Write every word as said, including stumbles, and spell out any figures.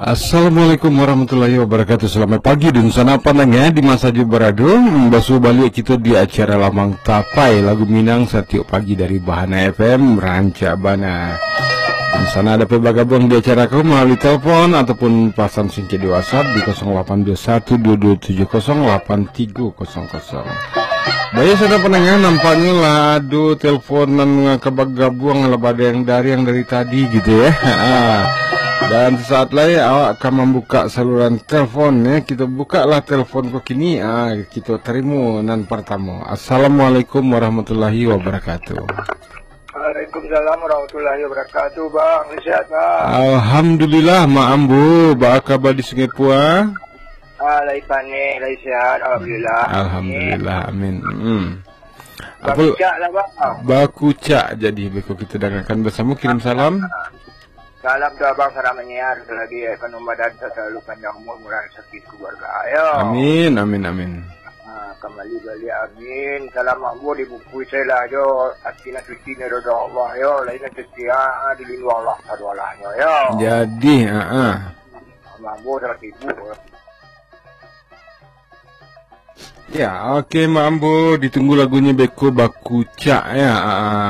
Assalamualaikum warahmatullahi wabarakatuh. Selamat pagi, dunsanak pandanga di ma sajo barado. Hmm, basuo baliak kito di acara Lamang Tapai, lagu Minang satiok pagi dari Bahana F M, rancak bana. Dunsanak dapek bagabuang di acara ko malalui telepon ataupun pasan singkek di WhatsApp di kosong lapan dua satu dua dua tujuh kosong lapan tiga kosong kosong. Baik, saudara pandanga, nampaknyo lah ado telepon nan ka bagabuang lah, badariang-dariang dari tadi gitu ya. Ha. Dan sesaat lai awak ka mambuka saluran telepon ya. Kito bukalah telepon ko kini. Ah, kito tarimo nan partamo. Assalamualaikum warahmatullahi wabarakatuh. Waalaikumsalam warahmatullahi wabarakatuh, Bang. Sehat, Bang? Alhamdulillah, Mak Ambo. Baa kaba di Sungai Pua? Ah, lai paneh, lai sehat, alhamdulillah. Alhamdulillah, amin. Hmm. Apa Bakucak lah, Bang. Bakucak jadi beko kita dengarkan bersama, kirim salam. Salam tu Abang, salam menyiar, selagi ekonomi badan selalu panjang umur, murah rezeki keluarga, yo. Amin, amin, amin. Ha, kembali balik, amin. Salam makbul di bungkuih saya lah, jo. Hati nak suci ni roda Allah, yo. Lain nak suci, ha, di lindung Allah, sadu Allah, yo, yo. Jadi, ha, ha. Makbul salam ibu. Ya, oke, Mak Ambo, ditunggu lagunyo beko Bakucak, ya. Ha, ha.